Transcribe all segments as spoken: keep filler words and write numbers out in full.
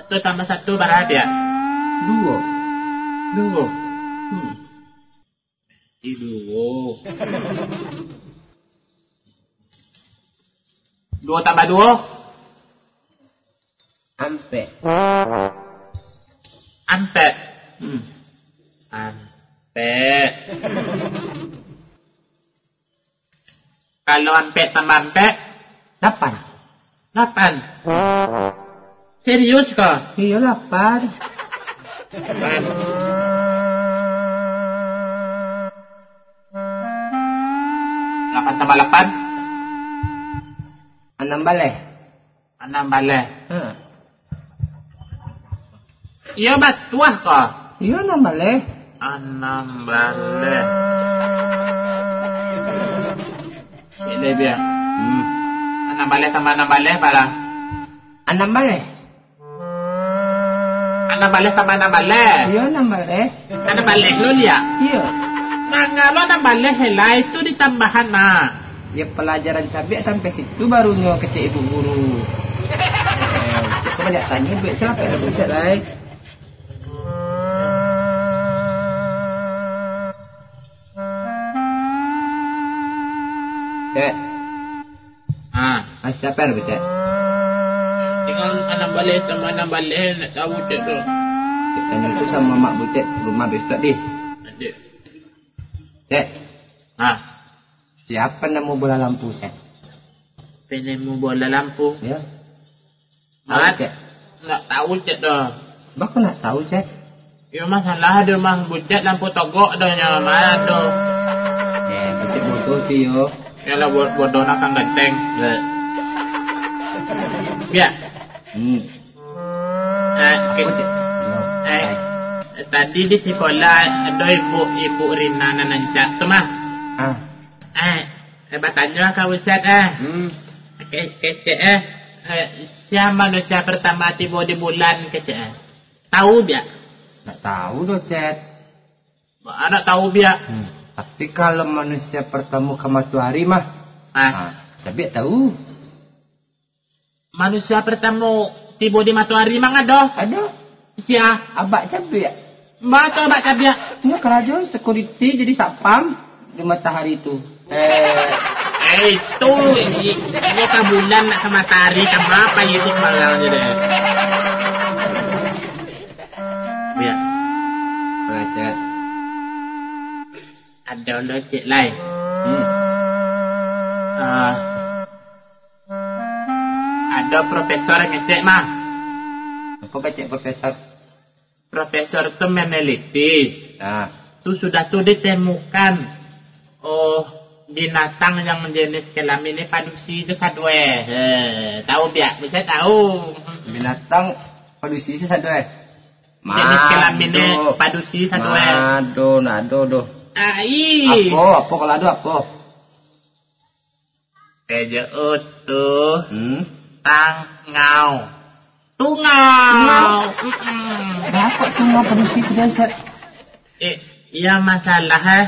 Satu tambah satu bara, Piak? Duo. Duo. Hmm. Jadi duo. Duo tambah duo? Ampek. Ampek. Hmm. Ampek. Kalau ampek tambah ampek? Lapan. Lapan. Serius ko? Iyo, lapan. Lapan. Lapan tambah lapan? Anam baleh. Anam baleh. Ha. Iyo batuah ko? Iyo, anam baleh. Anam baleh. Cek lai, Piak. Hmm. Anam baleh tambah anam baleh, bara? Anam baleh. Anam baleh tambah anam baleh. Iyo, anam baleh. Anam baleh lo, Piak? Iyo. Manga lo anam baleh lah, itu ditambahan, nah. Ya, pelajaran cabiak sampai situ barunyo kecek ibu guru. Eh, kok banyak tanyo, bucek, capek lah bucek lai. Cek. Ah. Ah, siapa yang bucek? Tinggal anam baleh sama anam baleh, nak tahu cek tu. Kita itu sama mak bucek rumah besok deh. Adik. Cek. Ah. Siapa namo bola lampu, Cek? Penemu bola lampu? Ya. Mat, Cek. Ndak tahu, Cek, doh. Bako ndak tahu, Cek? Yo, masalah di rumah bucek lampu togok doh nyo, Mat, doh. Eh, bucek bodoh ti yo. Yalah, bo-, bodoh nak kan ganteng. Ya. Ya. Hmm. Eh, ke-, Apa, Cek? Eh, tadi di sikola ado ibu, Ibu Rina nan rancak tu mah. Ah. Eh, eh, batanyo ka Ustaz, eh. Hmm. Ke-, kecek, eh, eh, sia manusia pertama tibo di bulan, kecek, eh. Tahu, Piak? Ndak tahu doh, Cek. Ba, ndak tahu, Piak. Hmm. Tapi kalau manusia pertama ka matoari mah, ah, ah, Cabiak tahu. Manusia pertamo tibo di matoari mang ado? Ado. Sia? Abak Cabiak. Ba tu Abak Cabiak? Inyo karajo security jadi satpam di matoari tu. Eh, eh, itu, i-, inyo ka bulan nak ka matoari, ka mapa itu sembarang je deh. Ya. Belajar. Ado lo cek lai. Hmm. Ah. Ado profesor ngecek mah. Apo kecek profesor? Profesor tu meneliti. Ah. Tu sudah tu ditemukan, oh, binatang yang jenis kelamin ni padusi tu sadoe. Eh, tahu Piak? Bisa tahu. Binatang padusi tu sadoe. Jenis kelamin ni padusi sadoe. Mado, nado doh. Ai. Apo, apo kalau ado apo? Ejo utuh. Hmm? Tangau. Tungau. Tungau. Mm-mm. Baa kok tungau padusi sudah, Ustaz? Eh, iya masalah, eh.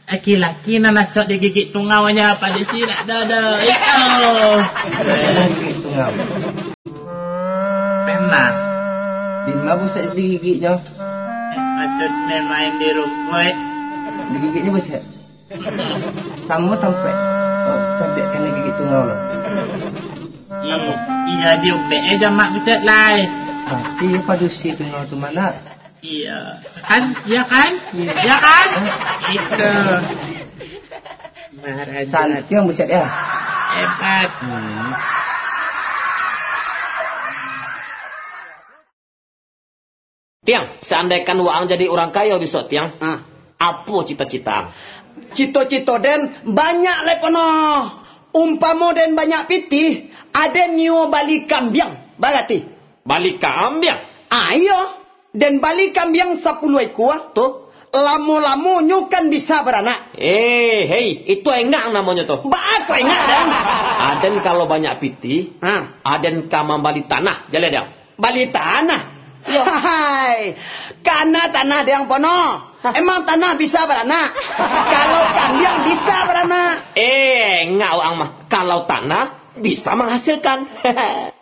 Laki-laki nan acok digigik tungaunyo padusi nak doh, doh. Itu. Gigik tungau. Pernah. Di ma Ustaz digigiknyo? Eh, maksudnyo main di rumpuik. Digigiknyo, Ustaz? Samo tampek, oh, Cabiak kanai gigik tungau lo. Samo. Iya, diubek eh jamak buset lai. Berarti padusi tungau tu mah. Iya. Kan? Iya kan? Iya. Iya kan? Hah? Itu. Maharaja. Cantik yang buset ya. Hebat. Hmm. Tiang, seandaikan waang jadi urang kayo bisuak, Tiang, ah, apo cito-cito ang? Cito-cito den banyak lai pono. Umpamo den banyak pitih, aden nio bali kambiang, barati? Bali kambiang? Ah, iyo. Den bali kambiang sapuluah ikua, tu, lamo-lamo nyo kan bisa baranak. Eh, hei, itu engak namonyo tu. Baa kok engak, Dang? Aden kalau banyak pitih, ha, aden ka mambali tanah, jaleh, Dang. Bali tanah? Iyo. Hai, kana tanah Dang pono. Hah? Emang tanah bisa baranak? Kalau kambiang bisa baranak. Eh, engak waang mah. Kalau tanah, bisa manghasilkan.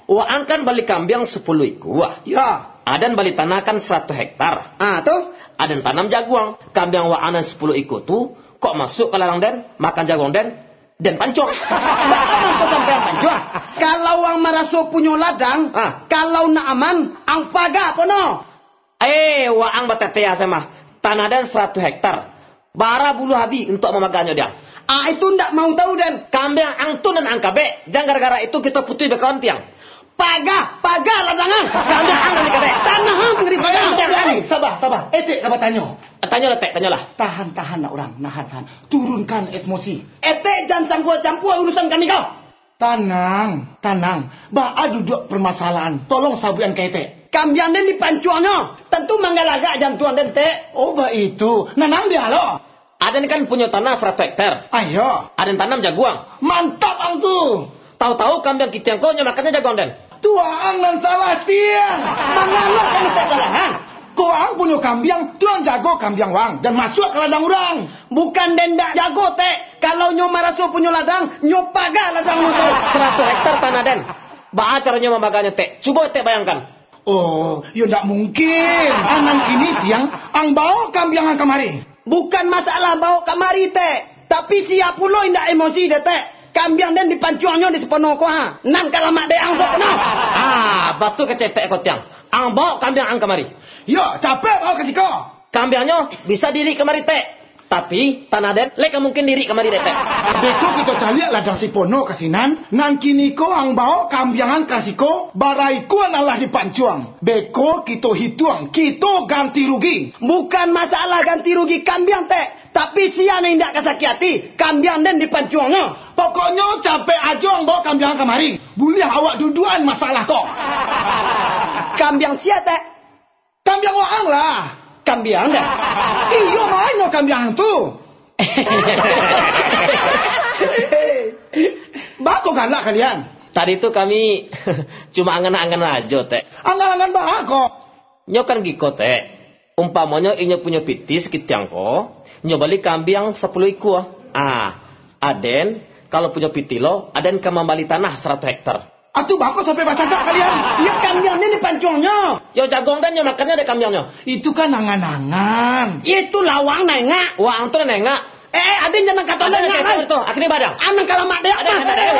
Waang kan bali kambiang sapuluah ikua. Ya. Aden bali tanah kan saratuih hektar. Ah, tu? Aden tanam jaguang. Kambiang waang nan sapuluah ikua tu, kok masuak ka ladang den, makan jaguang den, den pancuang. Baa mangko sampai ang pancuang? Kalau ang maraso punyo ladang, ah, kalau nak aman, ang paga pono. Eh, waang batetea se mah. Tanah den saratuih hektar. Bara buluah abi untuak mamagahnyo diang. Ah, itu ndak mau tahu den. Kambiang ang tu nan ang kabek, jan gara-gara itu kito putuih bakawan tiang. Paga, paga ladang ang. Kambiang ang nan dikabek. Tanah ang nan dipaga. Kambiang ang. Saba, saba. Etek ka batanyo. Tanyolah, Tek, tanyolah. Tahan, tahan, nak urang. Nahan, tahan. Turunkan emosi. Etek jan campua-campua urusan kami ko. Tanang, tanang. Baa duduak parmasalahan? Tolong sabuikan ka etek. Kambiang den dipancuangnyo. Tantu manggalagak jantuang den, Tek. Oh, baitu. Nanang dialo. Aden kan punyo tanah saratuih hektar. Ayo. Aden tanam jaguang. Mantap ang tu. Tahu-tahu kambiang kitiang ko nyo makannyo jaguang den. Tu ang nan salah, tiang. Mangalo kami tak salah, ha? Ko ang punyo kambiang, tu ang jago kambiang wang, jan masuak ka ladang urang. Bukan den dak jago, Tek. Kalau nyo maraso punyo ladang, nyo paga ladang nyo tu. Saratuih hektar tanah den. Baa caronyo mambagahnyo, Tek? Cubo Tek bayangkan. Oh, yo ndak mungkin. Anan kini tiang, ang baok kambiang ang kamari. Bukan masalah baok kamari, Tek. Tapi sia pulo indak emosi dek Tek. Kambiang den dipancuangnyo di Supono ko, ha. Nan ka lamak dek ang Supono. Ah, batua kecek Tek ko tiang. Ang baok kambiang ang kamari. Yo, capek baok ka siko. Kambiangnyo bisa diirik kamari, Tek. Tapi, tanah den lai ka mungkin diirik kamari dek Tek. Beko kito caliak ladang Supono ka sinan, nan kini ko ang baok kambiang ang ka siko, bara ikua nan lah dipancuang. Beko kito hituang, kito ganti rugi. Bukan masalah ganti rugi kambiang, Tek, tapi sia nan indak ka sakik ati, kambiang den dipancuangnyo. Pokoknyo capek ajo ang baok kambiang kamari. Buliah awak duduakan masalah ko. Kambiang sia, Tek? Kambiang waang lah. Kambiang den? Iyo, ma nyo kambiang tu. Baa kok galak kalian? Tadi tu kami cuma angan-angan ajo, Tek. Angan-angan baa kok? Nyo kan giko, Tek. Umpamonyo inyo punyo pitih sakitiang ko, nyo bali kambiang sapuluah ikua. Ah, aden, kalau punyo pitih lo, aden ka mambali tanah saratuih hektar. Atu baa kok sampai bacakak kalian? Iyo, kambiang ni dipancuangnyo. Yo, jaguang den nyo makannyo dek kambiangnyo. Itu kan angan-angan. Itu lah waang nan engak. Waang tu nan engak. Eh, eh, aden jan nan kato nan engak, Rai. Aden tu, akhirnyo badang. Anan ka lamak dek. Aden, aden, aden.